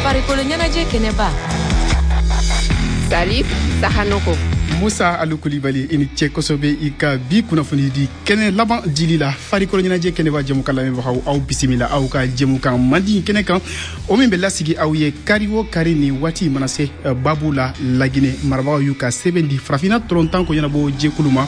Farikolo ɲɛnajɛ kɛnɛba. Salif Sahanoko. Musa Alu Kulibali, i ni ce kosɛbɛ i ka bi kunnafoni di kɛnɛ laban dili la. Farikolo ɲɛnajɛ kɛnɛba jɛmukan lamɛnbagaw, aw bisimila aw ka jɛmukan mandi kɛnɛ kan, o min bɛ lasigi aw ye kari o kari ni waati mana se. Babu la, Laginɛ marabagaw y'u ka sɛbɛn di Farafinna tɔlɔntan ko ɲɛnabɔ jɛkulu ma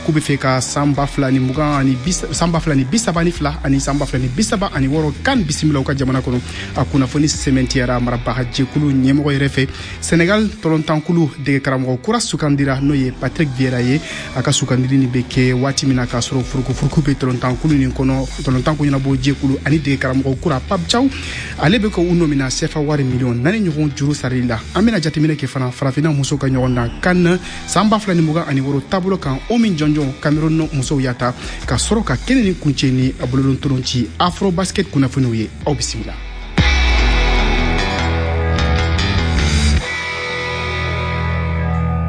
k'u bɛ fɛ ka san 2020 ani san 2032 ani san 2036 CAN bisimila u ka jamana kɔnɔ. A kunnafoni sɛmɛntiyara marabaga jɛkulu ɲɛmɔgɔ yɛrɛ fɛ. Senegal tɔlɔntankulu dege karamɔgɔ kura sugandira, n'o ye Patrick Vieira ye. A ka sugandili nin bɛ kɛ waati min na k'a sɔrɔ furukufuruku bɛ tɔlɔntankulu nin kɔnɔ. Tɔlɔntanko ɲɛnabɔ jɛkulu ani dege karamɔgɔ kura Pape Thiaw, ale bɛ ka u nɔ minɛ CFA wari miliyɔn 4 ɲɔgɔn juru sarali la. An bɛna jateminɛ kɛ fana Farafinna musow ka ɲɔgɔn dan CAN san 2026 taabolo kan, o min jɔnjɔn Cameroun musow y'a ta, ka sɔrɔ ka kɛnɛ ni kuncɛ ni bololontolanci Afro Basket kunnafoniw ye. Aw bisimila.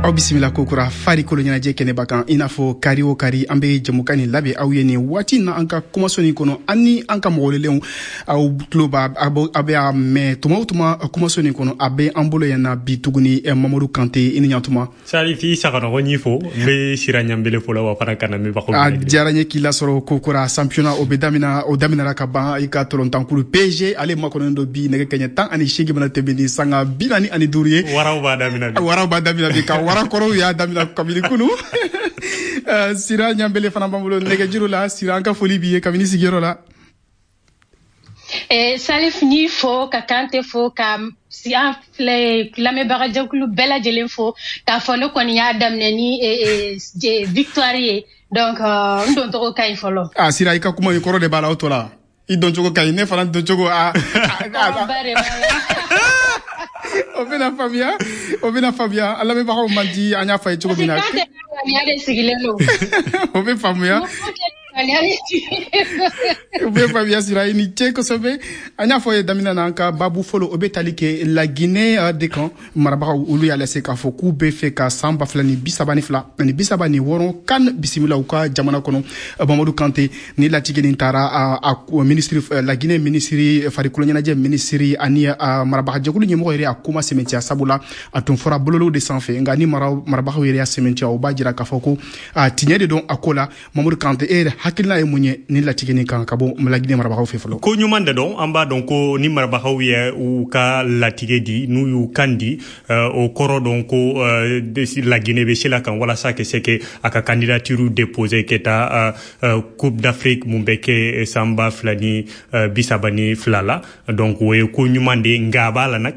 Aw bisimila kokura farikolo ɲɛnajɛ kɛnɛba kan. I n'a fɔ kari o kari, an bɛ jɛmukan nin labɛn aw ye nin waati na an ka kumaso nin kɔnɔ, an ni an ka mɔgɔ aw tulo b'a, a bɛ a mɛn tuma o tuma kumaso nin kɔnɔ. A bɛ an bolo yan na bi tuguni, Mamadu Kante, i ni ɲantuma. Salifi Sakanɔgɔ, ɲi fo n bɛ Sira Ɲanbele fo la wa fana ka lamɛnbagaw. A diyara n ye k'i lasɔrɔ kokura. Championnat o bɛ daminɛ, o daminɛra ka ban. I ka tɔlɔntankulu PSG, ale makɔnɔnen don bi nɛgɛ kɛɲɛ 18 mana tɛmɛ ni sanga 45 ye. Waraw b'a daminɛ bi. Waraw b'a daminɛ bi, ka warakɔrɔw y'a daminɛ kabini kunu. Sira Ɲanbele fana b'an bolo nɛgɛjuru la. Sira, an ka foli b'i ye kabini sigiyɔrɔ la. Salif, n'i fo ka Kante fo, ka an filɛ lamɛnbagajɛkulu bɛɛ lajɛlen fo, k'a fɔ ne kɔni y'a daminɛ ni victoire ye, donc n doncogo ka ɲi fɔlɔ. A Sira, i ka kuma in kɔrɔ de b'a la, o tɔ la i doncogo ka ɲi, ne fana doncogo a. O bɛna faamuya, o bɛna faamuya. An lamɛnbagaw man di, an y'a fɔ a ye cogo min na. De sigilen don. O bɛ faamuya, o bɛ faamuya. Sira, i ni ce kosɛbɛ. An y'a fɔ ye daminɛ na, an ka babu fɔlɔ, o bɛ tali kɛ Laginɛ de kan. Marabagaw, olu y'a lase k'a fɔ k'u bɛ fɛ ka san 2032 ani 36 CAN bisimila u ka jamana kɔnɔ. Mamadu Kante, ni latigɛ nin taara a minisiri, Laginɛ minisiri farikolo ɲɛnajɛ minisiri ani marabagajɛkulu ɲɛmɔgɔ yɛrɛ, a kuma sɛmɛntiya, sabula a tun fɔra bololow de sanfɛ, nka ni marabagaw yɛrɛ y'a sɛmɛntiya, o b'a jira k'a fɔ ko tiɲɛ de don a ko la. Mamadu Kante, e yɛrɛ hakilina ye mun ye ni latigɛ nin kan ka bɔ Laginɛ marabagaw fɛ fɔlɔ? Ko ɲuman de don. An b'a dɔn ko ni marabagaw ye u ka latigɛ di, n'u y'u kan di, o kɔrɔ dɔn ko Laginɛ bɛ se la kan walasa ka se ke a ka candidature déposer ka taa Coupe d'Afrique mun bɛ kɛ san 2032 la. Donc o ye ko ɲuman de ye, nka a b'a la nag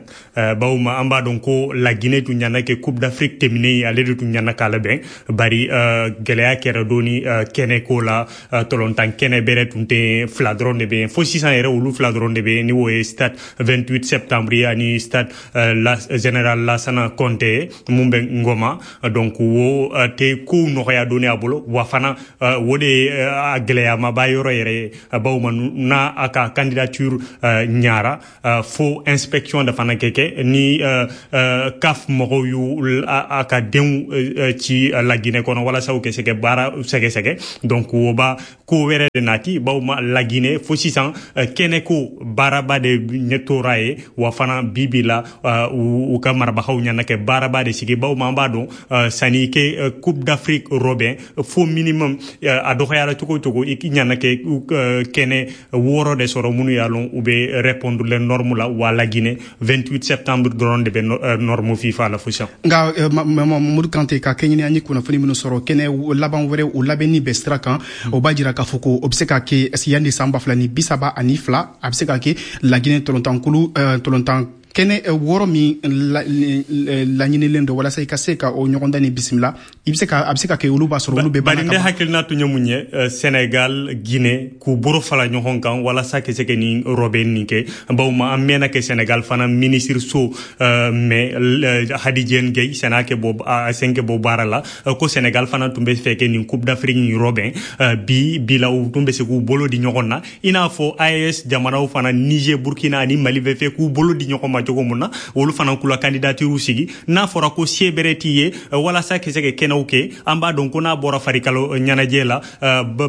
bawo ma an b'a dɔn ko Laginɛ tun ɲana kɛ Coupe d'Afrique tɛmɛnen, ale de tun ɲana k'a labɛn, bari gɛlɛya kɛra dɔɔni kɛnɛ ko la. Tɔlɔntan kɛnɛ bɛrɛ tun tɛ, fila dɔrɔn de bɛ yen fo sisan yɛrɛ, olu fila dɔrɔn de bɛ yen, ni o ye stade 28 septembre ye ani stade la général Lassana Conté mun bɛ Ngoma. Donc o tɛ kow nɔgɔya dɔɔni a bolo wa fana o de ye a gɛlɛyamaba yɔrɔ yɛrɛ ye, bawo ma n'a a ka candidature ɲara, fo inspection de fana kɛ kɛ ni CAF mɔgɔw y'u a ka denw ci Laginɛ kɔnɔ walasa u ka se ka baara sɛgɛsɛgɛ. Donc o ba ko wɛrɛ de nati, bawo ma Laginɛ fo sisan kɛnɛ ko baaraba de ɲɛ tora ye wa fana bi bi la u ka marabagaw ɲana kɛ baaraba de sigi, bawo ma an b'a dɔn sanni kɛ Coupe d'Afrique rɔbɛn, fo minimum a dɔgɔyara cogo o cogo i ɲana kɛ kɛnɛ 6 de sɔrɔ minnu y'a lɔn u bɛ répondre les normes la. Wa Laginɛ 28 septembre dɔrɔn de bɛ norme FIFA la fo sisan. Nka Mamadu Kante, ka kɛɲɛ ni an ye kunnafoni minnu sɔrɔ, kɛnɛ laban wɛrɛ o labɛnni bɛ sira kan, o b'a jira k'a fɔ ko o bɛ se ka kɛ yanni san 2032, a bɛ se ka kɛ Laginɛ tɔlɔntankulu tɔlɔntan kɛnɛ 6 min laɲinilen don walasa i ka se ka o ɲɔgɔndan ni bisimila, i bɛ se ka, a bɛ se ka kɛ olu b'a sɔrɔ olu bɛ. Bari ne hakilina tun ye mun ye, Sénégal, Guinée k'u bolo fara ɲɔgɔn kan walasa ka se ka nin rɔbɛn nin kɛ, bawo ma an mɛnna kɛ Sénégal fana ministre so mais Hadi Dieng Gueye sena kɛ bɔ a sen kɛ bɔ baara la, ko Sénégal fana tun bɛ fɛ kɛ nin Coupe d'Afrique nin rɔbɛn. Bi bi la, u tun bɛ se k'u bolo di ɲɔgɔn na, i n'a fɔ AES jamanaw fana, Niger, Burkina ani Mali bɛ fɛ k'u bolo di ɲɔgɔn ma. cogo mun na, olu fana k'u la candidature sigi. N'a fɔra ko se bɛrɛ t'i ye walasa ka se ka kɛnɛw kɛ, an b'a dɔn ko n'a bɔra farikolo ɲɛnajɛ la,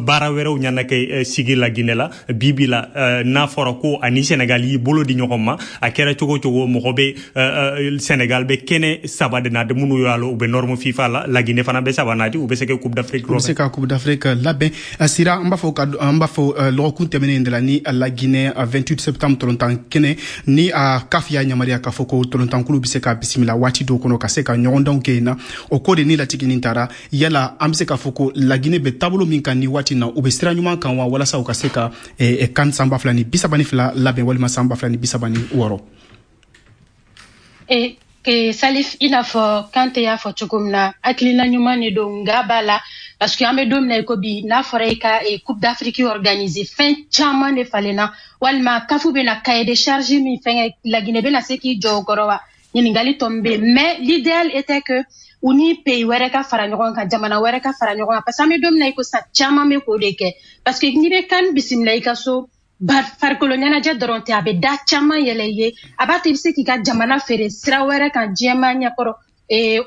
baara wɛrɛw ɲana kɛ sigi la Guinée la bi bi la. N'a fɔra ko ani Sénégal y'i bolo di ɲɔgɔn ma, a kɛra cogo cogo, mɔgɔ bɛ Sénégal bɛ kɛnɛ 3 de na de minnu y'a la, u bɛ norme FIFA la. La Guinée fana bɛ 3 nati, u bɛ se ka Coupe d'Afrique u bɛ se ka Coupe d'Afrique labɛn. Sira, an b'a fɔ lɔgɔkun tɛmɛnen de la ni la Guinée 28 septembre tolontan kɛnɛ ni a CAF y'a yamaruya k'a fɔ ko tolontankulu bɛ se ka bisimila waati dɔw kɔnɔ ka se ka ɲɔgɔndanw kɛ yen na. O ko de ni latigini taara, yala an bɛ se k'a fɔ ko la Guinée bɛ taabolo min kan ni waati na, u bɛ sira ɲuman kan wa, walasa u ka se ka CAN 2032 labɛn walima 2036? Salif, i n'a fɔ Kante y'a fɔ cogo min na, hakilina ɲuman de don, nka b'a la, parce que an bɛ don min na i ko bi, n'a fɔra i ka Coupe d'Afrique organiser, fɛn caman de falenna, walima CAF bɛna cahier de charge min fɛngɛ, la Guinée bɛna se k'i jɔ o kɔrɔ wa, ɲininkali tɔ min bɛ yen. Mais l'idéal était que u ni pays wɛrɛ ka fara ɲɔgɔn kan, jamana wɛrɛ ka fara ɲɔgɔn kan, parce que an bɛ don min na i ko sisan, caman bɛ k'o de kɛ, parce que n'i bɛ CAN bisimila i ka so, farikolo ɲɛnajɛ dɔrɔn tɛ, a bɛ da caman yɛlɛ i ye, a b'a to i bɛ se k'i ka jamana feere sira wɛrɛ kan diɲɛmaa ɲɛkɔrɔ.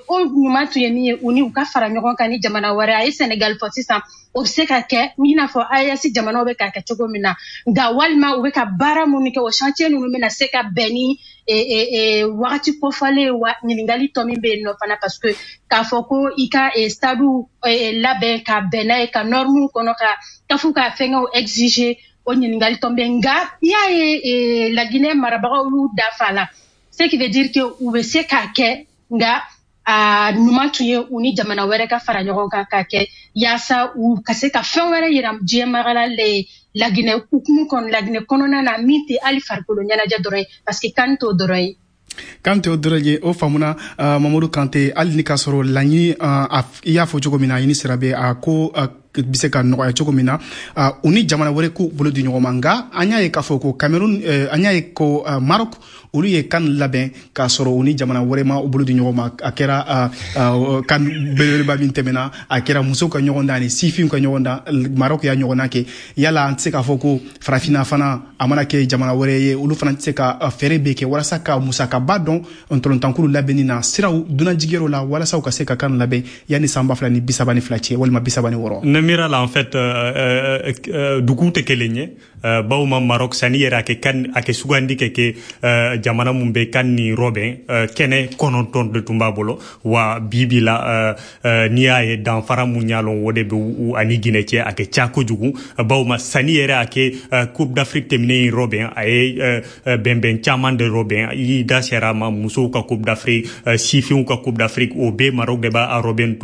O ɲuman tun ye min ye, u ni u ka fara ɲɔgɔn kan ni jamana wɛrɛ. A ye Sénégal fɔ sisan, o bɛ se ka kɛ i n'a fɔ AES jamanaw bɛ k'a kɛ cogo min na, nka walima u bɛ ka baara minnu kɛ, o chantier ninnu bɛna se ka bɛn ni wagati kofɔlen wa, ɲininkali tɔ min bɛ yen nɔ fana, parce que k'a fɔ ko i ka stade labɛn ka bɛn n'a ye, ka normes kɔnɔ, ka CAF ka fɛngɛw exiger, o ɲininkali tɔ bɛ. Nka n'i y'a ye la Guinée marabagaw y'u dafa la, ce qui veut dire que u bɛ se k'a kɛ, nka a ɲuman tun ye u ni jamana wɛrɛ ka fara ɲɔgɔn kan k'a kɛ, yaasa u ka se ka fɛn wɛrɛ yira diɲɛmaga la la Guinée hukumu kɔnɔ, la Guinée kɔnɔna na, min tɛ hali farikolo ɲɛnajɛ dɔrɔn ye, parce que CAN t'o dɔrɔn ye. Kante o dɔrɔn ye, o faamuna. Mamadu Kante, hali ni k'a sɔrɔ laɲini, i y'a fɔ cogo min na, ɲini sira bɛ a ko bɛ se ka nɔgɔya cogo min na, u ni jamana wɛrɛ k'u bolo di ɲɔgɔn ma. Nka an y'a ye k'a fɔ ko Cameroun, an y'a ye ko Maroc, olu ye CAN labɛn k'a sɔrɔ u ni jamana wɛrɛ ma u bolo di ɲɔgɔn ma. A kɛra CAN belebeleba min tɛmɛna, a kɛra musow ka ɲɔgɔn dan ani sifinw ka ɲɔgɔn dan, Maroc y'a ɲɔgɔnna kɛ. Yala an tɛ se k'a fɔ ko farafinna fana, a mana kɛ jamana wɛrɛ ye, olu fana tɛ se ka fɛɛrɛ bɛɛ kɛ walasa ka musakaba dɔn ntolontankulu labɛnni na siraw dunanjigiyɔrɔ la, walasa u ka se ka CAN labɛn yanni 2032 cɛ walima 36? Ne miira la, en fait, duguw tɛ kelen ye. Bawo ma Maroc sani yɛrɛ a kɛ CAN, a kɛ sugandi kɛ jamana mun bɛ CAN ni rɔbɛn, kɛnɛ 9 de tun b'a bolo. Wa bi bi la, n'i y'a ye danfara mun y'a lɔn, o de bɛ u ani Guinée cɛ, a kɛ ca kojugu. Bawo ma sani yɛrɛ a kɛ Coupe d'Afrique tɛmɛnen in rɔbɛn, a ye bɛnbɛn caman de rɔbɛn. I y'i da sera a ma, musow ka Coupe d'Afrique, sifinw ka Coupe d'Afrique, o bɛɛ Maroc de b'a rɔbɛn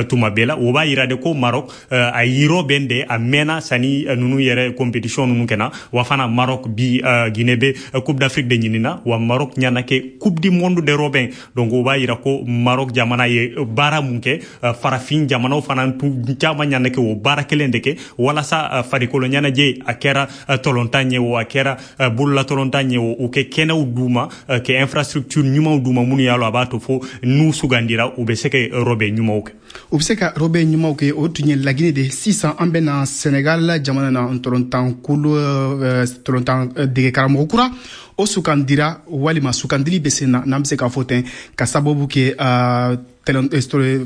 tuma bɛɛ la. O b'a yira de ko Maroc a y'i rɔbɛn de, a mɛnna sani ninnu yɛrɛ compétition ninnu kɛna. Wa fana Maroc bi, Guinée bɛ Coupe d'Afrique de ɲinina, wa Maroc ɲana kɛ Coupe du monde de rɔbɛn. Donc o b'a yira ko Maroc jamana ye baara mun kɛ, farafin jamanaw fana caman ɲana kɛ o baara kelen de kɛ, walasa farikolo ɲɛnajɛ, a kɛra tɔlɔntan ye o, a kɛra bolola tɔlɔntan ye o, u kɛ kɛnɛw d'u ma, kɛ infrastructure ɲumanw d'u ma, minnu y'a lɔ a b'a to fo n'u sugandira, u bɛ se ka rɔbɛn ɲumanw kɛ. U bɛ se ka rɔbɛn ɲumanw kɛ. O tun ye Laginɛ de. Sisan an bɛ na Sénégal jamana na, ntolontankulu tolontan dege karamɔgɔ kura o sugandira, walima sugandili bɛ sen na, n'an bɛ se k'a fɔ ten, ka sababu kɛ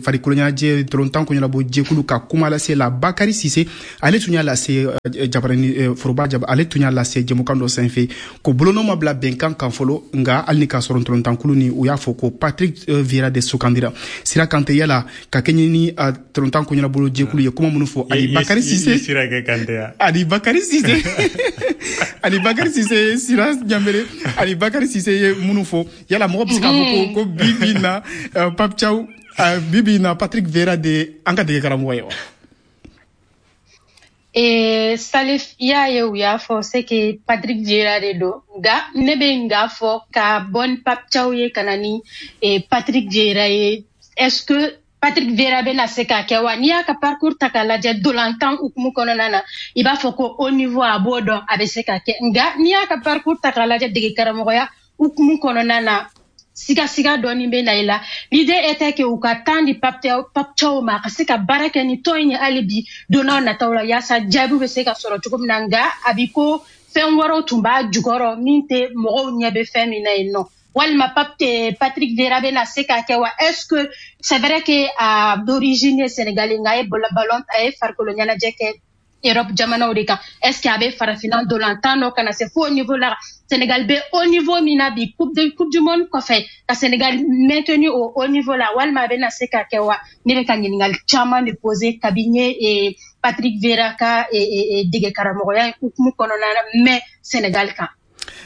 farikolo ɲɛnajɛ tolontan ko ɲɛnabɔ jɛkulu ka kuma lase la. Bakary Cissé, ale tun y'a lase jabarani foroba jaba, ale tun y'a lase jɛmukan dɔ sanfɛ ko bolonɔ ma bila bɛnkan kan fɔlɔ. Nka hali ni k'a sɔrɔ tolontankulu ni u y'a fɔ ko Patrick Vieira de sugandira. Sira Kante, yala ka kɛɲɛ ni tolontan ko ɲɛnabɔ jɛkulu ye kuma minnu fɔ, ani Bakary Cissé, ani Bakary Cissé, ani Bakary Cissé, Sira Ɲambere, ani Bakary Cissé ye minnu fɔ, yala mɔgɔ bɛ se k'a fɔ ko bi bi na Pape Thiaw, bibi na Patrick Vieira de an ka dege karamɔgɔ ye wa? Salif, i y'a ye u y'a fɔ c'est que Patrick Vieira de don, nka ne bɛ nka fɔ ka bɔ ni Pape Thiaw ye ka na ni Patrick Vieira ye. Est-ce que Patrick Vieira bɛna se k'a kɛ wa? N'i y'a ka parcours ta k'a lajɛ dolantan hukumu kɔnɔna na, i b'a fɔ ko haut niveau a b'o dɔn, a bɛ se k'a kɛ. Nka n'i y'a ka parcours ta k'a lajɛ dege karamɔgɔya hukumu kɔnɔna na, siga dɔɔni bɛ na i la. L'idée était que u ka temps di Pape Thiaw ma, a ka se ka baara kɛ ni tɔn in ye hali bi don n'a nataw la, yaasa jaabiw bɛ se ka sɔrɔ cogo min na. Nka a bi ko fɛn wɛrɛw tun b'a jukɔrɔ min tɛ mɔgɔw ɲɛ bɛ fɛn min na yen nɔ? Walima Patrick Vieira bɛna se k'a kɛ wa? Est-ce que c'est vrai que a d'origine ye sénégalais, nka a ye ballon, a ye farikolo ɲɛnajɛ kɛ Europe jamanaw de kan. Est-ce que a bɛ farafinna ndolantan dɔ ka na se fo au niveau la? Sénégal bɛ haut niveau min na bi, coupe du monde kɔfɛ, ka Sénégal maintenu au haut niveau la, walima a bɛna se ka kɛ wa? Ne bɛ ka ɲininkali caman de poser kabi n ye Patrick Vieira ka dege karamɔgɔya hukumu kɔnɔna na mais Sénégal kan.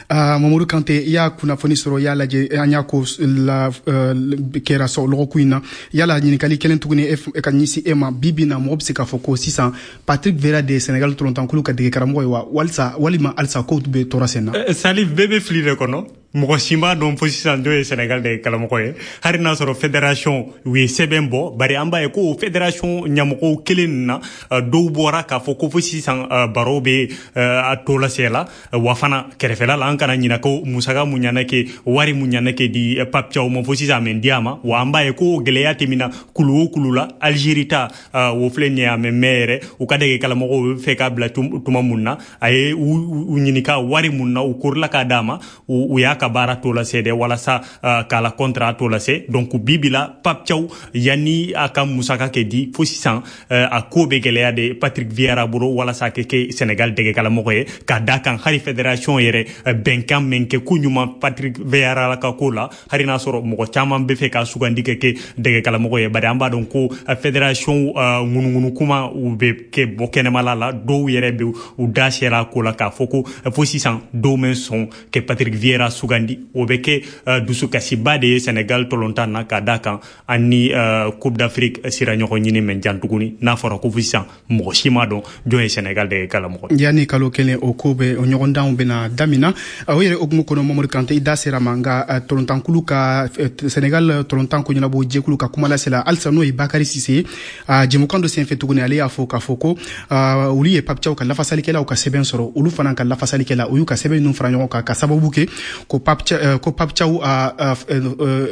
Mamadou Kante, i y'a kunnafoni sɔrɔ, i y'a lajɛ, an y'a ko la kɛra sɔ lɔgɔkun in na. Yala ɲininkali kelen tuguni e ka ɲɛsin e ma: bi bi na, mɔgɔ bɛ se k'a fɔ ko sisan Patrick Vieira de ye Sénégal tolontankulu ka dege karamɔgɔ ye wa, walisa walima halisa kow bɛ tora sen na? Salif, bɛɛ bɛ fili de kɔnɔ. Mɔgɔ si m'a dɔn fo sisan dɔ ye Sénégal de karamɔgɔ ye, hali n'a sɔrɔ fédération u ye sɛbɛn bɔ. Bari an b'a ye ko fédération ɲɛmɔgɔw kelen na, dɔw bɔra k'a fɔ ko fo sisan baro bɛ a to lase la. Wa fana kɛrɛfɛla la, an kana ɲinɛ ko musaka mun ɲana kɛ, wari mun ɲana kɛ di Pape Thiaw ma, fo sisan a mɛ di a ma. Wa an b'a ye ko gɛlɛya tɛmɛna kulu o kulu la. Algérie ta, o filɛ nin ye, a mɛ mɛn yɛrɛ, u ka dege karamɔgɔw bɛ fɛ k'a bila tuma mun na, a ye u ɲininka wari mun na, u korila k'a d'a ma, u y'a ka baara to lase dɛ, walasa k'a la contrat to lase. Donc bi bi la, Pape Thiaw, yanni a ka musaka kɛ di, fo sisan a ko bɛ gɛlɛya de Patrick Vieira bolo walasa a kɛ kɛ Sénégal dɛgɛkalamɔgɔ ye, ka da kan hali fédération yɛrɛ bɛnkan min kɛ ko ɲuman Patrick Vieira ka ko la, hali n'a sɔrɔ mɔgɔ caman bɛ fɛ ka sugandi kɛ kɛ dɛgɛkalamɔgɔ ye. Bari an b'a dɔn ko fédération ŋunuŋunu kuma u bɛ kɛ bɔ kɛnɛmala la, dɔw yɛrɛ bɛ u da sera a ko la k'a fɔ ko fo sisan dɔw mɛ sɔn kɛ Patrick Vieira sugandi. O bɛ kɛ dusukasiba de ye Sénégal tolontan na, ka da kan ani Coupe d'Afrique sira ɲɔgɔn ɲini mɛ jan tuguni, n'a fɔra ko sisan mɔgɔ si ma dɔn jɔn ye Sénégal de kalamɔgɔ. Yanni kalo kelen, o ko bɛ o ɲɔgɔndanw bɛna damina. O yɛrɛ hukumu kɔnɔ, Mamadou Kante, i da sera ma, nka tolontankulu ka Sénégal tolontan ko ɲɛnabɔ jɛkulu ka kuma lasela halisa, n'o ye Bakary Cissé ye, jɛmukan dɔ senfɛ tuguni, ale y'a fɔ k'a fɔ ko olu ye Pape Thiaw ka lafasalikɛlaw ka sɛbɛn sɔrɔ. Olu fana ka lafasalikɛla, u y'u ka sɛbɛn ninnu fara ɲɔgɔn kan ka sababu kɛ ko Pape Thiaw,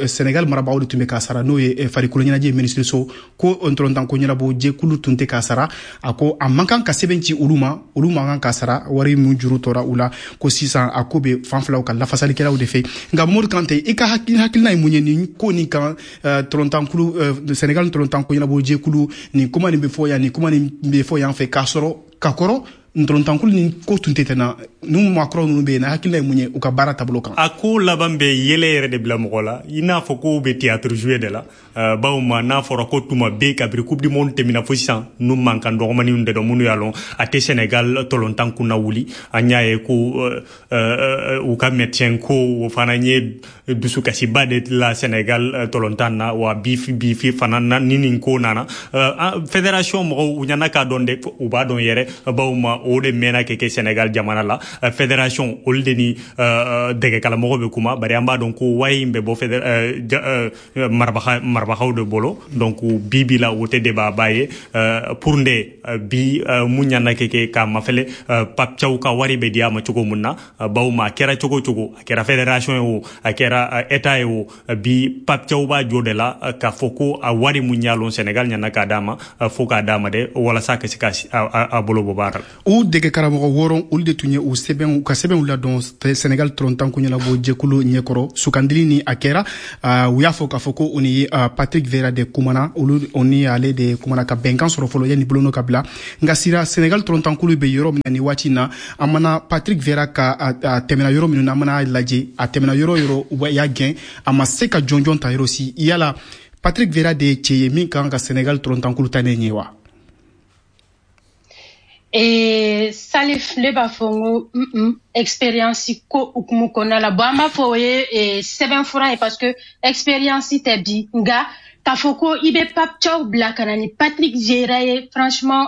Sénégal marabagaw de tun bɛ k'a sara, n'o ye farikolo ɲɛnajɛ minisiriso, ko ntolontan ko ɲɛnabɔ jɛkulu tun tɛ k'a sara. A ko a man kan ka sɛbɛn ci olu ma, olu man kan ka sara wari min juru tora u la, ko sisan a ko bɛ fan filaw ka lafasalikɛlaw de fɛ. Nka Mamadou Kante, i ka hakilina ye mun ye nin ko nin kan? Tolontankulu Sénégal ntolontan ko ɲɛnabɔ jɛkulu, nin kuma nin bɛ fɔ yan, nin kuma nin bɛ fɔ yan fɛ, k'a sɔrɔ ka kɔrɔ ntolontankulu ni ko tun tɛ tɛna ninnu maakɔrɔ ninnu bɛ yen na, hakilina ye mun ye u ka baara taabolo kan? A ko laban bɛ yɛlɛ yɛrɛ de bila mɔgɔ la, i n'a fɔ ko bɛ théâtre jouer de la. Bawo ma n'a fɔra ko tuma bɛɛ kabiri Coupe du monde tɛmɛna fo sisan, nu mankan dɔgɔmaninw de dɔn minnu y'a lɔn a tɛ Sénégal tolontan kunna wuli. An y'a ye ko u ka médecin ko, o fana ye dusukasiba de la Sénégal tolontan na. Wa bi bi fana ni nin ko nana, fédération mɔgɔw u ɲana k'a dɔn de, u b'a dɔn yɛrɛ, bawo ma o de mɛnna kɛ kɛ Sénégal jamana la. Fédération olu de ni dɛgɛkalamɔgɔ bɛ kuma, bari an b'a dɔn ko wari in bɛ bɔ marabagaw de bolo. Donc bi bi la, o tɛ débat ba ye pour nde bi mun ɲana kɛ kɛ k'a mafɛlɛ Pape Thiaw ka wari bɛ di a ma cogo mun na. Bawo ma a kɛra cogo cogo, a kɛra fédération ye o, a kɛra état ye o, bi Pape Thiaw b'a jɔ de la k'a fɔ ko a wari mun y'a lɔn Sénégal ɲana k'a d'a ma, fo k'a d'a ma de, walasa ka se ka a bolo bɔ baara la. U dege karamɔgɔ wɔɔrɔ, olu de tun ye u sɛbɛn, u ka sɛbɛnw ladɔn Sénégal tolontanko ɲɛnabɔ jɛkulu ɲɛkɔrɔ. Sugandili ni a kɛra, u y'a fɔ k'a fɔ ko o ni Patrick Vieira de kumana, olu o ni ale de kumana ka bɛnkan sɔrɔ fɔlɔ yanni bolonɔ ka bila. Nka sira Sénégal tolontankulu bɛ yɔrɔ min na nin waati in na, an mana Patrick Vieira ka a tɛmɛna yɔrɔ minnu na, an mana lajɛ a tɛmɛna yɔrɔ yɔrɔ, u y'a gɛn, a ma se ka jɔnjɔn ta yɔrɔ si. Yala Patrick Vieira de ye cɛ ye min kan ka Sénégal tolontankulu ta ne ɲɛ wa? Salif, ne b'a fɔ n ko expérience ko hukumu kɔnɔna la, bon, an b'a fɔ o ye sɛbɛnfura ye, parce que expérience tɛ bi. Nka k'a fɔ ko i bɛ Pape Thiaw bila ka na ni Patrick Vieira ye, franchement,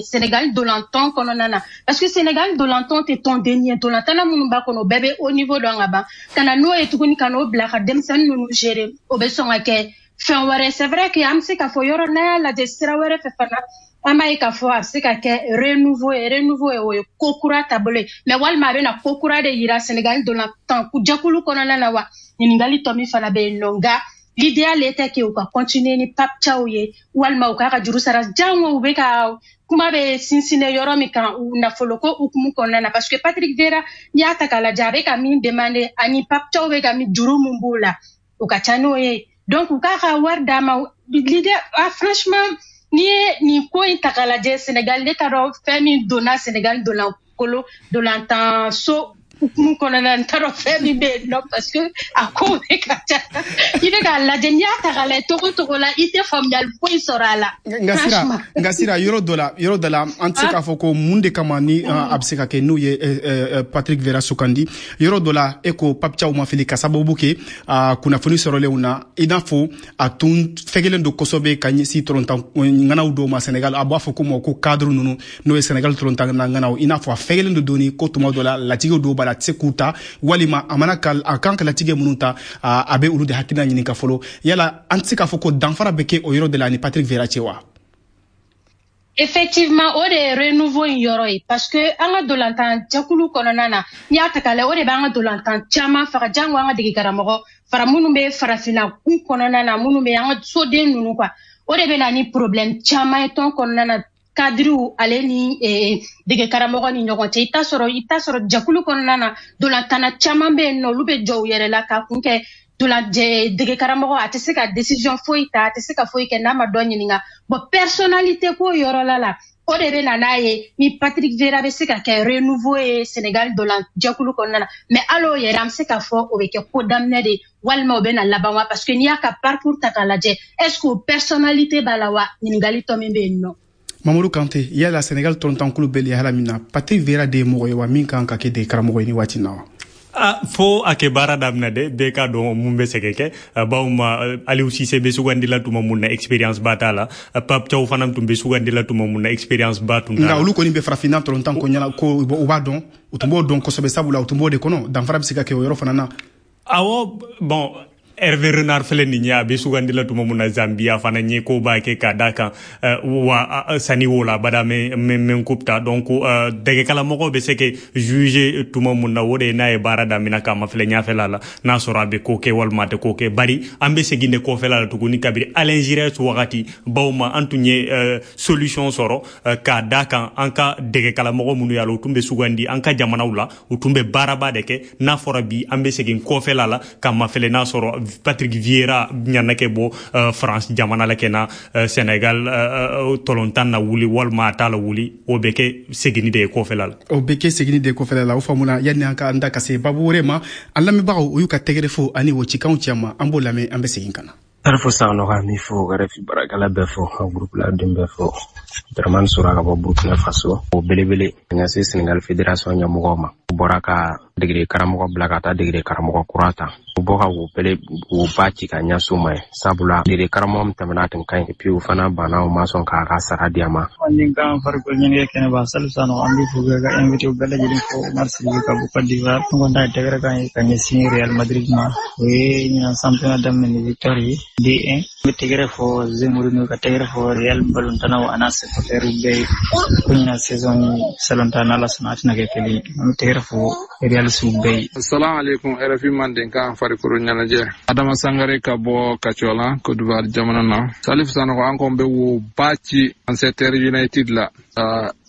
Sénégal dolantan kɔnɔna na, parce que Sénégal dolantan tɛ tɔnden ye, dolantanna minnu b'a kɔnɔ, o bɛɛ bɛ haut niveau dɔn ka ban, ka na n'o ye tuguni ka n'o bila ka denmisɛnnin ninnu gérer, o bɛ sɔn ka kɛ fɛn wɛrɛ. C'est vrai que an bɛ se k'a fɔ yɔrɔ n'an y'a lajɛ sira wɛrɛ fɛ fana, an b'a ye k'a fɔ a bɛ se ka kɛ renouveau ye, renouveau ye, o ye ko kura taabolo ye, mais walima a bɛna ko kura de yira Sénégal dolantan jɛkulu kɔnɔna na wa? Ɲininkali tɔ min fana bɛ yen nɔ, nka L'idéal était que u ka continuer ni Pape Thiaw ye, walima u k'a ka juru sara. Jango u bɛ ka kuma bɛ sinsinɛ yɔrɔ min kan, u nafolo ko hukumu kɔnɔna na, parce que Patrick Vieira, n'i y'a ta k'a lajɛ, a bɛ ka min demander ani Pape Thiaw bɛ ka min juru min b'o la, o ka ca n'o ye. Donc u k'a ka wari d'a ma. L'idée, ah, franchement, n'i ye nin ko in ta k'a lajɛ, Sénégal, ne t'a dɔn fɛn min donna Sénégal donna kolo dolantan so hukumu kɔnɔna na, n t'a dɔn fɛn min bɛ yen nɔ, parce que a ko bɛ ka ca. I bɛ k'a lajɛ, n'i y'a ta k'a lajɛ togo togo la, i tɛ faamuyali foyi sɔrɔ a la. Nka Sira, yɔrɔ dɔ la, an tɛ se k'a fɔ ko mun de kama ni a bɛ se ka kɛ n'u ye Patrick Vieira sugandi. Yɔrɔ dɔ la, e ko Pape Thiaw ma fili, ka sababu kɛ kunnafoni sɔrɔlenw na, i n'a fɔ a tun fɛgɛlen don kosɛbɛ ka ɲɛsin tɔlɔntan ŋanaw dɔw ma Sénégal. A b'a fɔ ko ma ko cadre ninnu, n'o ye Sénégal tɔlɔntan ŋanaw, i n'a fɔ a fɛgɛlen don dɔɔni, ko tuma dɔ la latigɛw dɔw b'a la, a tɛ se k'u ta, walima a mana ka a kan ka latigɛ minnu ta, a bɛ olu de hakilina ɲini ka fɔlɔ. Yala an tɛ se k'a fɔ ko danfara bɛ kɛ o yɔrɔ de la ani Patrick Vieira cɛ wa? Effectivement, o de ye renouveau in yɔrɔ ye, parce que an ka dolantan jɛkulu kɔnɔna na, n'i y'a ta k'a lajɛ, o de b'an ka dolantan caman faga. Jango an ka dege karamɔgɔ fara minnu bɛ farafinna kun kɔnɔna na, minnu bɛ an ka soden ninnu quoi, o de bɛ na ni problème caman ye tɔn kɔnɔna na, kadiriw ale ni dege karamɔgɔ ni ɲɔgɔn cɛ. I t'a sɔrɔ jɛkulu kɔnɔna na, dolantanna caman bɛ yen nɔ, olu bɛ jɔ u yɛrɛ la k'a kun kɛ dolan dege karamɔgɔ a tɛ se ka décision foyi ta, a tɛ se ka foyi kɛ n'a ma dɔ ɲininka. Bon, personnalité ko yɔrɔ la, o de bɛ na n'a ye ni Patrick Vieira bɛ se ka kɛ renouveau ye Sénégal dolan jɛkulu kɔnɔna na. Mais hali o yɛrɛ, an bɛ se k'a fɔ o bɛ kɛ ko daminɛ de, walima o bɛ na laban wa? Parce que n'i y'a ka parcours ta k'a lajɛ, est ce que o personnalité b'a la wa? Ɲininkali tɔ min bɛ yen nɔ. Mamadu Kante, yala Sénégal tɔlɔntankulu bɛ lahala min na, Patrick Vieira de ye mɔgɔ ye wa min kan ka kɛ de karamɔgɔ ye ni waati na wa? Ah, fo a kɛ baara daminɛ de, bɛɛ k'a dɔn mun bɛ se ka kɛ. Bawo ma Aliou Cissé bɛ sugandi la tuma mun na, expérience ba t'a la. Pape Thiaw fana tun bɛ sugandi la tuma mun na, expérience ba tun t'a la. Nka olu kɔni bɛ farafinna tɔlɔntan ko ɲɛna ko u b'a dɔn, u tun b'o dɔn kosɛbɛ, sabula u tun b'o de kɔnɔ. Danfara bɛ se ka kɛ o yɔrɔ fana na. Awɔ, bon, Hervé Renard filɛ nin ye, a bɛ sugandi la tuma mun na, Zambia fana ɲɛ ko b'a kɛ ka da kan wa sani wo la bada mɛ coupe ta. Donc dɛgɛkalamɔgɔw bɛ se ka juger tuma mun na, o de ye n'a ye baara daminɛ k'a ma filɛ ɲɛfɛla la, n'a sɔrɔ a bɛ ko kɛ walima a tɛ ko kɛ. Bari an bɛ segin de kɔfɛla la tuguni kabiri Alain Giresse wagati, bawo ma an tun ye solution sɔrɔ k'a da kan an ka dɛgɛkalamɔgɔ minnu y'a la, u tun bɛ sugandi an ka jamanaw la, u tun bɛ baaraba de kɛ. N'a fɔra bi an bɛ segin kɔfɛla la k'a ma filɛ n'a sɔrɔ Patrick Vieira ɲana kɛ bɔ France jamana la kɛ na Sénégal tɔlɔntan na wuli, walima a t'a la wuli, o bɛ kɛ seginni de ye kɔfɛla la. O bɛ kɛ seginni de ye kɔfɛla la. O faamuna. Yanni an ka an da ka se babu wɛrɛ ma, an lamɛnbagaw, o y'u ka tɛgɛrɛ fo ani o cikanw cɛ ma, an b'o lamɛn, an bɛ segin ka na. Tarifo Sanogo, an b'i fo, RFI baarakɛla bɛɛ fo, ka groupe la den bɛɛ fo. Dramane Sora ka bɔ Burkina Faso. O belebele ka ɲɛsin Sénégal fédération ɲɛmɔgɔw ma. U bɔra ka degere karamɔgɔ bila ka taa degere karamɔgɔ kura ta. U bɔ ka wo bele wo ba ci ka ɲɛsin u ma ye. Sabula degere karamɔgɔ min tɛmɛna, a tun ka ɲi. Et puis u fana banna, u ma sɔn k'a ka sara di a ma. Manden kan farikolo ɲɛnajɛ kɛnɛba, Salif Sano, an b'i fo ka invité bɛɛ lajɛlen fo. Umar Sidibe ka bɔ Côte d'Ivoire. N kɔni ta ye tɛgɛrɛ kan ye ka ɲɛsin Real Madrid ma. O ye ɲinan championnat daminɛ ni victoire ye 2-1. N bɛ tɛgɛrɛ fɔ José Mourinho, ka tɛgɛrɛ fɔ Real balontannaw a n'a supporters bɛɛ ye. Ko ɲinan saison ni salon ta, n'Ala sɔnna, a tɛna kɛ kelen ye. An bɛ tɛgɛrɛ fɔ Real siw bɛɛ ye. Assalamu alaikum, RFI Mandenkan farikolo ɲɛnajɛ. Adama Sangare ka bɔ Kacɔla, Côte d'Ivoire jamana na. Salif Sanogo, an kɔni bɛ wo ba ci Manchester United la.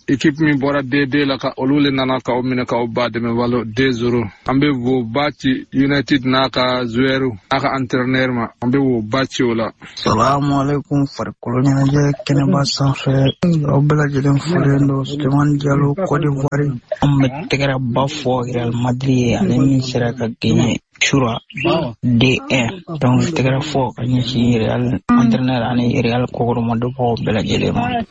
Équipe min bɔra D2 la, ka olu le nana k'aw minɛ k'aw ba dɛmɛ walo 2-0. An bɛ wo ba ci United n'a ka joueur n'a ka entraîneur ma, an bɛ wo ba ci o la. Salamu alaikum, farikolo ɲɛnajɛ kɛnɛba sanfɛ, aw bɛɛ lajɛlen folen don. Sulemani Jalo, Côte d'Ivoire. An bɛ tɛgɛrɛ ba fɔ Real Madrid ye, ale min sera ka gagner sura D1. Donc tɛgɛrɛ fɔ ka ɲɛsin Real entraîneur ani Real kɔkɔrɔmadonbagaw bɛɛ lajɛlen ma.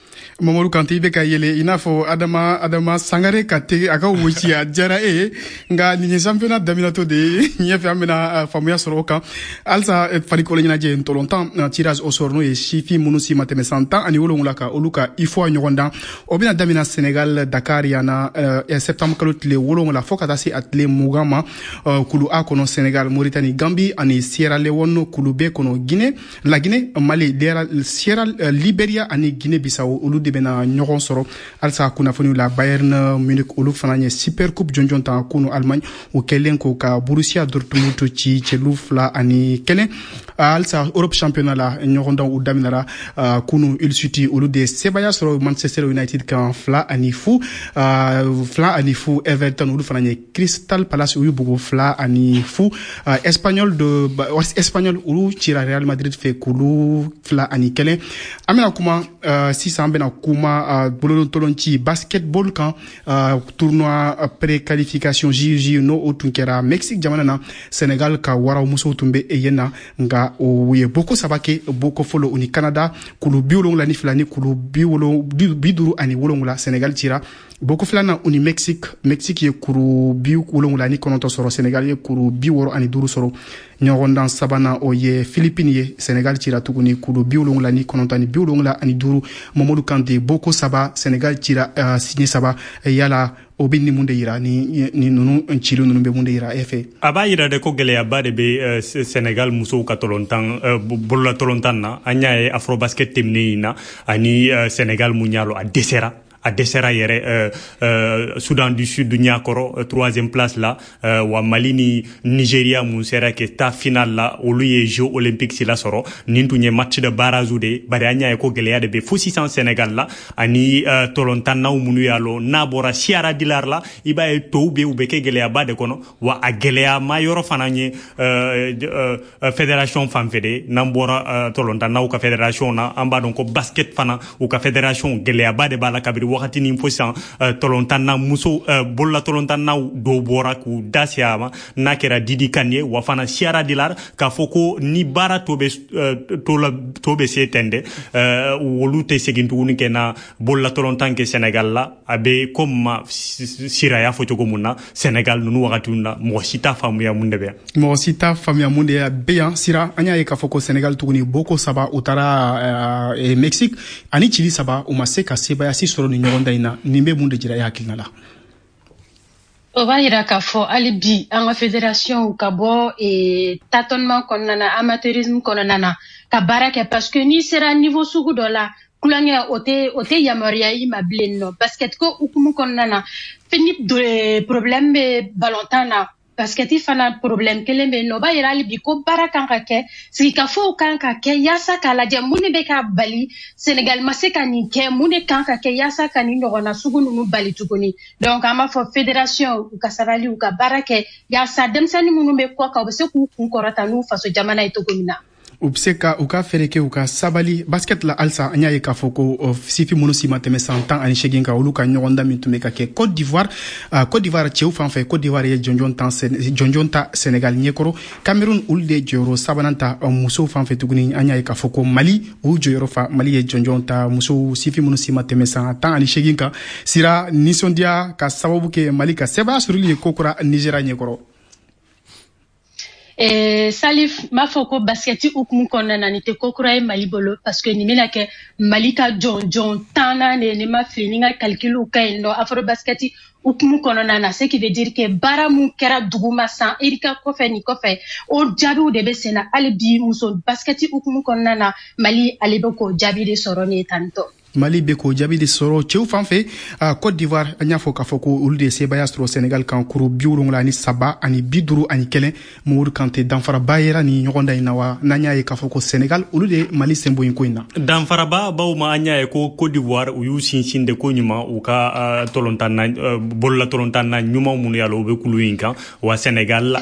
Mamadu Kante, i bɛ ka yɛlɛ i n'a fɔ Adama Sangare ka tege a ka woci a diyara e ye. Nka nin ye championnat daminɛtɔ de ye, ɲɛfɛ an bɛna faamuya sɔrɔ o kan halisa. Farikolo ɲɛnajɛ ntolontan tirage au sort, n'o ye sifin minnu si ma tɛmɛ san 17 kan, olu ka UFOA ɲɔgɔn dan, o bɛna daminɛ Sénégal, Dakar yan na, septembre kalo tile 7 fo ka taa se a tile 20 ma. Kulu A kɔnɔ, Senegal, Mauritanie, Gambie ani Sierra Leone. Kulu B kɔnɔ, Guinée, La Guinée, Mali, Sierra, Liberia ani Guinée Bissau, olu de bɛna ɲɔgɔn sɔrɔ. Halisa kunnafoniw la, Bayern Munich, olu fana ye Super Coupe jɔnjɔn ta kunu Allemagne, o kɛlen ko ka Borussia Dortmund ci celu 2-1. Halisa Europe championnat la, ɲɔgɔndanw u daminɛra kunu. Hull City, olu de sebaya sɔrɔ Manchester United kan 2-0, 2-0. Everton, olu fana ye Crystal Palace, u y'u bugo 2-0. Espanyol de Espanyol, olu cira Real Madrid fɛ kulu 2-1. An bɛna kuma sisan, an bɛna kuma bololotolonci basketball kan, tournoi préqualification JJ, n'o o tun kɛra Mexique jamana na. Senegal ka waraw musow tun bɛ yen na, nka o ye boko saba kɛ. Boko fɔlɔ, u ni Canada, kulu 72 ni kulu 57. Senegal cira. Boko filanan, u ni Mexique, Mexique ye kuru 79 sɔrɔ, Senegal ye kuru 65 sɔrɔ. Ɲɔgɔndan sabanan, o ye Philippines ye, Senegal cira tuguni kuru 79 ni 75. Mamadu Kante, boko saba, Senegal cira, siɲɛ saba. Yala o bɛ ni mun de yira? Ni ninnu cili ninnu bɛ mun de yira e fɛ? A b'a yira de ko gɛlɛyaba de bɛ Senegal musow ka tɔlɔntan, bolola tɔlɔntan na. An y'a ye Afrobasket tɛmɛnen in na ani Senegal mun y'a lɔ, a dɛsɛra yɛrɛ Soudan du Sud ɲakɔrɔ troisième place la. Wa Mali ni Nigeria mun sera ke taa final la, olu ye Jeux olympiques sila sɔrɔ. Nin tun ye match de barrage de, bari an y'a ye ko gɛlɛya de bɛ fo sisan Sénégal la ani tɔlɔntannaw minnu y'a lɔ. N'a bɔra Siyara Dilar la, i b'a ye tɔw bɛ, u bɛ kɛ gɛlɛyaba de kɔnɔ. Wa a gɛlɛya ma yɔrɔ fana ye fédération fan fɛ de. N'an bɔra tɔlɔntannaw ka fédération na, an b'a dɔn ko basket fana, u ka fédération, gɛlɛyaba de b'a la kabiri wagatinin fo sisan. Tɔlɔntanna muso, bolola tɔlɔntannaw dɔw bɔra k'u da se a ma, n'a kɛra Didi Kan ye, wa fana Siyara Dilar, k'a fɔ ko ni baara to bɛ to la, to bɛ se ten dɛ, olu tɛ segin tuguni kɛ na bolola tɔlɔntan kɛ Sénégal la. A bɛ comme ma Sira y'a fɔ cogo mun na, Sénégal ninnu wagatiw na, mɔgɔ si t'a faamuya mun de bɛ yan. Mɔgɔ si t'a faamuya mun de bɛ yan. Sira, an y'a ye k'a fɔ ko Sénégal tuguni, boko saba, u taara Mexique ani cili saba, u ma se ka sebaaya si sɔrɔ nin ɲɔgɔndan in na. Nin bɛ mun de jira e hakilina la? O b'a yira k'a fɔ hali bi an ka fédération ka bɔ tâtonnement kɔnɔna na, amateurisme kɔnɔna na, ka baara kɛ, parce que n'i sera niveau sugu dɔ la, kulonkɛ o tɛ yamaruya i ma bilen nɔ. Basket ko hukumu kɔnɔna na, ni problème bɛ balontan na, basketi fana problème kelen bɛ yen nɔ. O b'a yira hali bi ko baara kan ka kɛ, sigikafow kan ka kɛ yaasa k'a lajɛ mun de bɛ ka bali Senegal ma se ka nin kɛ, mun de kan ka kɛ yaasa ka nin ɲɔgɔnna sugu ninnu bali tuguni. Donc an b'a fɔ fédération u ka sabali, u ka baara kɛ yaasa denmisɛnnin minnu bɛ kɔ kan, u bɛ se k'u kun kɔrɔta n'u faso jamana ye cogo min na. U bɛ se ka u ka fɛɛrɛ kɛ, u ka sabali. Basket la halisa, an y'a ye k'a fɔ ko sifin minnu si ma tɛmɛ san 18 kan, olu ka ɲɔgɔndan min tun bɛ ka kɛ Côte d'Ivoire, Côte d'Ivoire cɛw fan fɛ, Côte d'Ivoire ye jɔnjɔn ta Sénégal ɲɛkɔrɔ. Cameroun, olu de ye jɔyɔrɔ sabanan ta. Musow fan fɛ tuguni, an y'a ye k'a fɔ ko Mali, u jɔyɔrɔ fa, Mali ye jɔnjɔn ta musow, sifin minnu si ma tɛmɛ san 18 kan. Sira, nisɔndiya ka sababu kɛ Mali ka sebaaya sɔrɔli ye kokura Nigéria ɲɛkɔrɔ. Salif, m'a fɔ ko basketi hukumu kɔnɔna na, nin tɛ ko kura ye Mali bolo, parce que nin bɛna kɛ Mali ka jɔnjɔn tannan de, ni ma fili, ni n ka calculiw ka ɲi nɔ, afro basketi hukumu kɔnɔna na. Ce qui veut dire que baara mun kɛra duguma san irika kɔfɛ, nin kɔfɛ, o jaabiw de bɛ sen na hali bi muso basketi hukumu kɔnɔna na. Mali ale bɛ k'o jaabi de sɔrɔ nin ye tantɔ. Mali bɛ k'o jaabi de sɔrɔ. Cɛw fan fɛ, Côte d'Ivoire, an y'a fɔ k'a fɔ ko olu de ye sebaaya sɔrɔ Sénégal kan kuru 73 ani 51. Mamadu Kante, danfaraba yera nin ɲɔgɔndan in na wa, n'an y'a ye k'a fɔ ko Sénégal, olu de ye Mali sen bɔ yen ko in na? Danfaraba baw ma, an y'a ye ko Côte d'Ivoire, u y'u sinsin de ko ɲuman u ka tɔlɔntan na, bolola tɔlɔntan na ɲuman minnu y'a la, u bɛ kulu in kan. Wa Sénégal,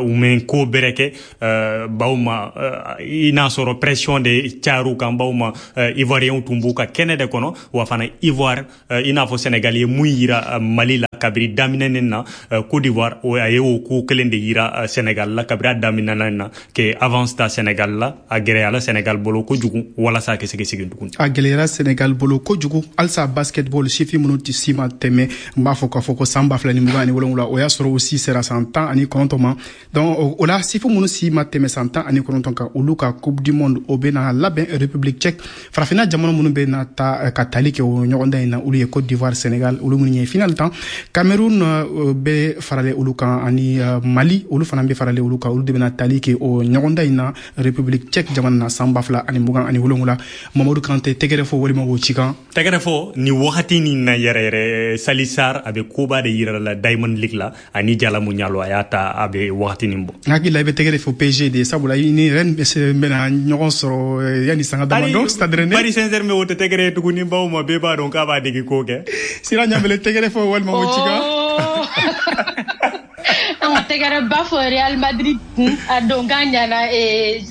u mɛ ko bɛrɛ kɛ baw ma, i n'a sɔrɔ pression de cayar'u kan baw ma, Ivoirien tun b'u ka kɛnɛ de kɔnɔ. Wa fana Ivoire, i n'a fɔ Sénégal ye mun yira Mali la kabiri daminɛ na, Côte d'Ivoire a ye o ko kelen de yira Sénégal la kabiri a daminɛ na, ke avance ta Sénégal la. A gɛlɛyala Sénégal bolo kojugu walasa a ka se ka segin tuguni. A gɛlɛyara Sénégal bolo kojugu. Halisa basketball, sifin minnu tɛ si ma tɛmɛ, n b'a fɔ k'a fɔ ko san 2027, o y'a sɔrɔ o si sera san 19 ma. Donc o la, sifin minnu si ma tɛmɛ san 19 kan, olu ka Coupe du monde, o bɛna labɛn République tchèque. Farafinna jamana minnu bɛ na ta ka tali kɛ o ɲɔgɔndan in na, olu ye Côte d'Ivoire, Sénégal, olu minnu ye final tan. Cameroun bɛ faralen olu kan ani Mali, olu fana bɛ faralen olu kan. Olu de bɛna tali kɛ o ɲɔgɔndan in na République tchèque jamana na san 2027. Mamadu Kante, tɛgɛrɛ fɔ walima o cikan? Tɛgɛrɛ fɔ ni wagati nin na yɛrɛ yɛrɛ, Sali Sar a bɛ koba de yira la Diamond League la ani Jalamu Ɲalo, a y'a ta a bɛ wagati nin bɔ. N hakili la i bɛ tɛgɛrɛ fɔ PSG de, sabula i ni Rennes bɛna ɲɔgɔn sɔrɔ yanni sanga damadɔ Stade Rennais. Paris Saint-Germain, o tɛ tɛgɛrɛ ye tuguni, bawo ma bɛɛ b'a dɔn k'a b'a degi ko kɛ. Sira Ɲabele, tɛgɛrɛ fɔ walima o cikan? An ka tɛgɛrɛ ba fɔ Real Madrid kun, a donkan ɲana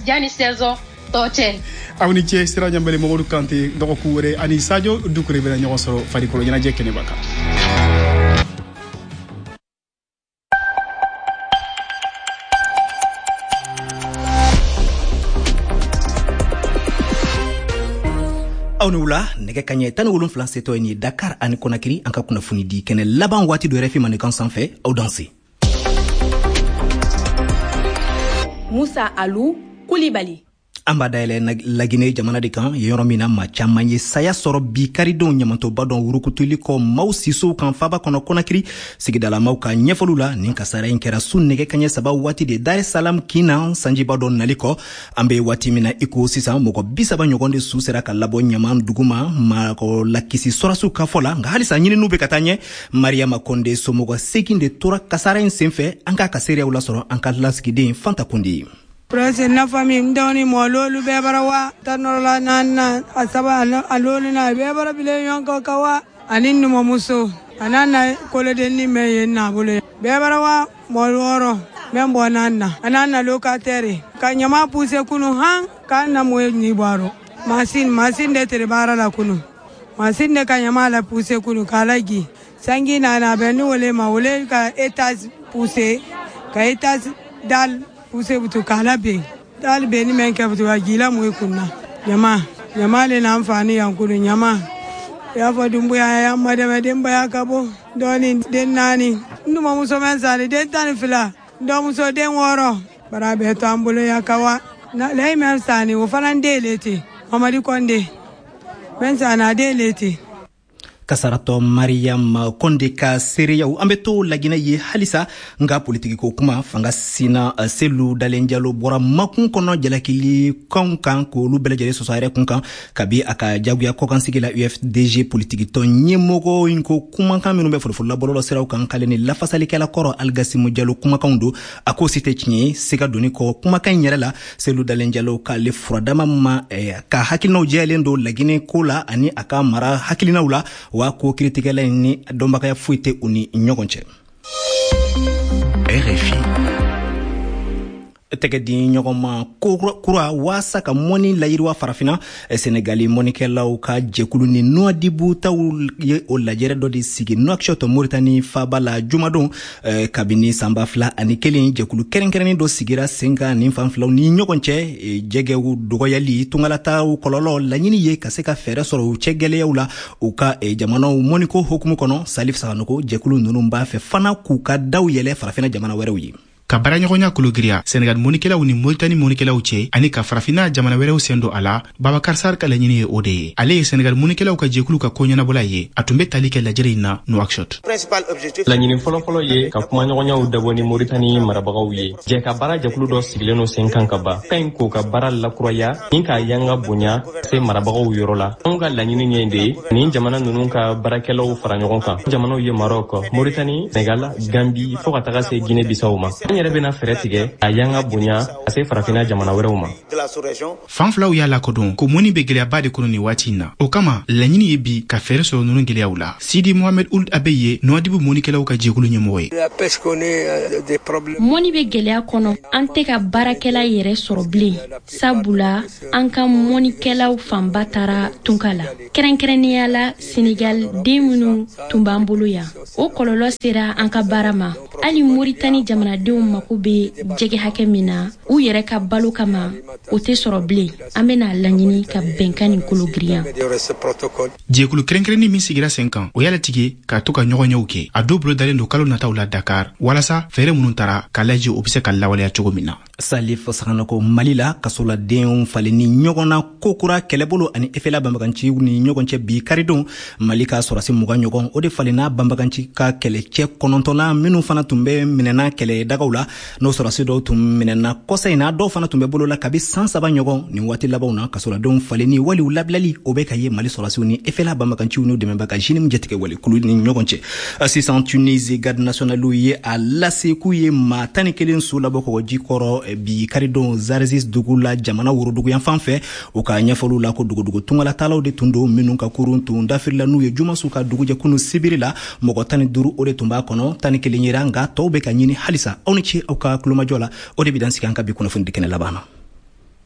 yanni saison tɔ cɛ. Aw ni ce, Sira Ɲanbele, Mamadu Kante. Dɔgɔkun wɛrɛ ani Sadio Dukure bɛna ɲɔgɔn sɔrɔ farikolo ɲɛnajɛ kɛnɛba kan. Aw ni wula. Nɛgɛ kaɲɛ 17 setɔ ye ni Dakar ani Konakiri. An ka kunnafoni di kɛnɛ laban waati do RFI Mandenkan sanfɛ. Aw danse. Musa Alu Kulibali. An b'a dayɛlɛ Lagine jamana de kan, yɔrɔ min na maa caman ye saya sɔrɔ bi karidenw ɲamantoba dɔn wurukutuli kɔ maaw sisow kan faba kɔnɔ Konakiri. Sigidalamaw ka ɲɛfɔliw la, nin kasara in kɛra su nɛgɛ kaɲɛ 3 waati de Dar es Salam kin na, sanjiba dɔ nali kɔ. An be waati min na i ko sisan, mɔgɔ 30 ɲɔgɔn de su sera ka labɔ ɲaman duguma, mɔgɔ lakisi sɔrasiw ka fɔ la. Nka halisa ɲininiw be ka taa ɲɛ. Mariama Konde somɔgɔ 8 de tora kasara in senfɛ. An k'a ka seereyaw lasɔrɔ an ka lasigiden Fanta Kunde ye. Presque na famille, n dɔgɔnin mɔlolu bɛɛ bara wa tan nɔrɔla naani na, a saba a lolu na bɛɛ bara bilen ɲɔgɔn kan ka wa, ani numumuso a n'a na kolodenni mɛn yen n'a bolo bɛɛ bara wa mɔɔ 6 mɛn bɔ naani na, a n'a na locataire ka ɲama poussé kunu han k'an na mɔ ni bɔrɔ masin de tere baara la kunu, masin de ka ɲama la poussé kunu k'a lagi sangi nana bɛn ni wole ma wole ka étage poussé ka étage dal poussé butu k'ala ben dal ben ni mɛn kɛ butu ka jila mun kunna. Ɲama ɲama le n'an fa ni yan kunu ɲama i y'a fɔ Dunbuya y'an ma dɛmɛ denbaya ka bɔ dɔɔni, den 4, n dumuso mɛn sani den 12, n dɔgɔmuso den 6, bara bɛɛ to an bolo yan ka wa layi mɛn sani o fana den le ten, Mamadi Kɔnde mɛn sani a den le ten. Kasaratɔ Mariam Konde ka seereyaw. An bɛ to Laginɛ ye halisa, nka politikiko kuma. Fanga sina Selu Dalen Jalo bɔra makun kɔnɔ jalakili kanw kan k'olu bɛɛ lajɛlen sɔsɔ a yɛrɛ kun kan kabi a ka jagoya kɔkansigi la. UFDG politikitɔn ɲɛmɔgɔ in ko kumakan minnu bɛ folofolola bɔlɔlɔ siraw kan k'ale ni lafasalikɛla kɔrɔ Aligasimu Jalo kumakanw don, a k'o si tɛ tiɲɛ ye. Siga donni kɔ kumakan in yɛrɛ la, Selu Dalen Jalo k'ale furadama ma ka hakilinaw jɛyalen don Laginɛ ko la ani a ka mara hakilinaw la, wa ko kiritigɛla in ni dɔnbagaya foyi tɛ u ni ɲɔgɔn cɛ. RFI. Tɛgɛ di ɲɔgɔn ma kura waasa ka mɔni layiriwa Farafina. Senegali mɔnikɛlaw ka jɛkulu ni Nuwadibu taw ye o lajɛrɛ dɔ de sigi Nouakchott, Moritani faba la jumadon. Kabini san 2001, jɛkulu kɛrɛnkɛrɛnnen dɔ sigira sen kan nin fan filaw ni ɲɔgɔn cɛ. Jɛgɛw dɔgɔyali, tungalataw kɔlɔlɔ, laɲini ye ka se ka fɛɛrɛ sɔrɔ u cɛ gɛlɛyaw la u ka jamanaw mɔniko hukumu kɔnɔ. Salif Saganogo, jɛkulu ninnu b'a fɛ fana k'u ka daw yɛlɛ Farafina jamana wɛrɛw ye. Ka baaraɲɔgɔnya kologiriya Senegal mɔnikɛlaw ni Moritani mɔnikɛlaw cɛ ani ka Farafinna jamana wɛrɛw sen don a la, Babakar Sar ka laɲini ye o de ye. Ale ye Senegal mɔnikɛlaw ka jɛkulu ka koɲɛnabɔla ye. A tun bɛ tali kɛ lajɛrɛ in na Nouakchott. Laɲini fɔlɔfɔlɔ ye ka kumaɲɔgɔnyaw dabɔ ni Moritani marabagaw ye. Jɛ ka baara jɛkulu dɔ sigilen don sen kan ka ban ka ɲi k'o ka baara lakuraya ni k'a yanga bonya se marabagaw yɔrɔ la. Anw ka laɲini ye de nin jamana ninnu ka baarakɛlaw fara ɲɔgɔn kan. Jamanaw ye Maroc, Moritani, Senegal, Gambi fo ka taga se Guinée Bissau ma. An yɛrɛ bɛna fɛɛrɛ tigɛ a yanga bonya ka se Farafinna jamana wɛrɛw ma. Fan filaw y'a lakodɔn ko mɔni bɛ gɛlɛyaba de kɔnɔ nin waati in na. O kama laɲini ye bi ka fɛɛrɛ sɔrɔ ninnu gɛlɛyaw la. Sidi Mohamed Ould Abe ye Nouadhibou mɔnikɛlaw ka jɛkulu ɲɛmɔgɔ ye. Mɔni bɛ gɛlɛya kɔnɔ, an tɛ ka baarakɛla yɛrɛ sɔrɔ bilen, sabula an ka mɔnikɛlaw fanba taara tunka la, kɛrɛnkɛrɛnnenya la Senegal den minnu tun b'an bolo yan. O kɔlɔlɔ sera an ka baara ma. Hali Moritani jamanadenw mako bɛ jɛgɛ hakɛ min na u yɛrɛ ka balo kama, o tɛ sɔrɔ bilen. An bɛna laɲini ka bɛnkan nin kolo girinya. Jɛkulu kɛrɛnkɛrɛnnin min sigira sen kan, o y'a latigɛ k'a to ka ɲɔgɔnyew kɛ. A dɔw bolo dalen don kalo nataw la Dakar, walasa fɛɛrɛ minnu tara k'a lajɛ o bɛ se ka lawaleya cogo min na. Salif Saganako, Mali la, kasoladenw falenni ɲɔgɔn na kokura kɛlɛbolo ani FLA banbaganciw ni ɲɔgɔn cɛ bi karidon. Mali ka sɔrɔsi 20 ɲɔgɔn, o de falenna banbaganci ka kɛlɛcɛ 9 na, minnu fana tun bɛ minɛna kɛlɛdagaw la. N'o sɔrɔsi dɔw tun minɛna kɔsa in na, dɔw fana tun bɛ bolo la kabi san 3 ɲɔgɔn. Nin waati labanw na, kasoladenw falenni wali u labilali, o bɛ ka ye Mali sɔrɔsiw ni FLA banbaganciw n'u dɛmɛbaga JNIM jatigɛ wale kulu ni ɲɔgɔn cɛ. Sisan, Tunisie garde nationale ye a lase k'u ye maa 11 su labɔ kɔgɔji kɔrɔ bi karidon Zarzis dugu la, jamana woroduguyanfan fɛ. U ka ɲɛfɔliw la, ko dugudugu tungalatalaw de tun don, minnu ka kurun tun dafirila n'u ye jumasu ka dugujɛ kunu sibiri la. Mɔgɔ 15, o de tun b'a kɔnɔ. 11 yera, nka tɔw bɛ ka ɲini halisa. Aw ni ce aw ka kulomajɔ la. O de bɛ dan sigi an ka bi kunnafoni di kɛnɛ laban na.